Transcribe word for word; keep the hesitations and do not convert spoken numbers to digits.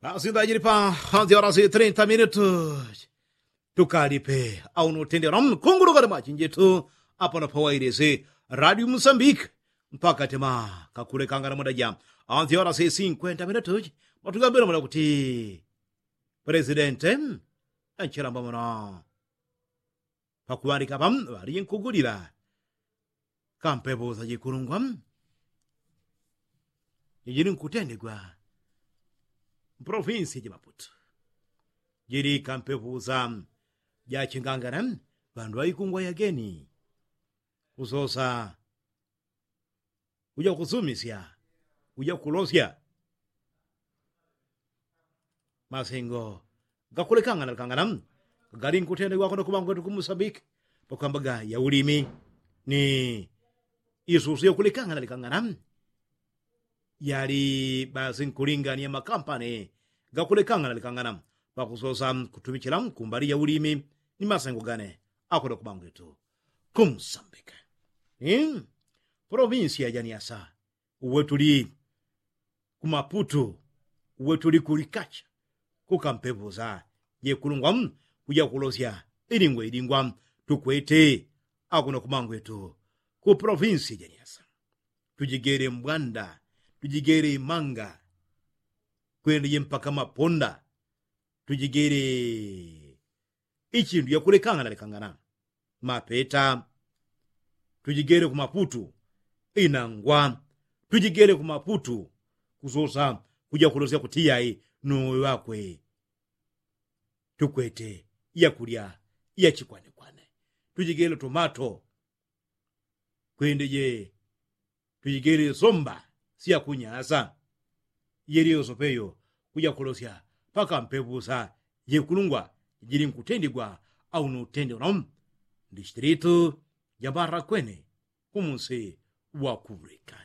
Pasinda jili pa hanzi orasi trinta minutu. Tukalipe au nutendela mkunguluka na machinjitu apano pawailisi radio musambiki. Mpaka tima kakulekangana muda ja hanzi orasi sinkwenta minutu. Matugambila muna kuti presidente anchilamba muno pakuŵalika pam ŵalinkugulila kampepo za jikulungwa jijili nkutendegwa mpolofinsi ja maputu. Jili kampepo za jachingangana ŵandu ŵaikungwa yageni kusosa kuja kusumisya kuja kulosya masengo gakulekangana lekangana galinkutendegwa kuno kuŵangwetu kumusambiki pakwambaga ya ulimi ni isusu yakulekangana lekangana yali basi nkulingania makampani gakulekangana lekangana pakusosa kutumichila kumbali ya ulimi ni masengo gane akuno kuŵangwetu kumusambiki. Polofinsi ya janiasa uwe tuli kumaputu uwe tuli kulikacha kukampepo za jekulungwa kuja kulosya ilingwa ilingwa tukwete akuno kuŵangwetu ku polofinsi janiasa. Tujigele mbwanda tujigele imanga kwendeje mpaka maponda tujigele ichindu yakulekangana lekangana mapeta tujigele kumaputu inangwa tujigele kumaputu kusosa kuja kulosya kuti yai nuwe ŵakwe tukwete yakulya yachikwanekwane tujigele tomato kwendeje tujigele somba syakunyasa yeliyoso peyo kuja kulosya pakampepo za jekulungwa jili nkutendigwa au nutendegwa ndi chitilitu jambarakwene kumusi wa kuŵulika.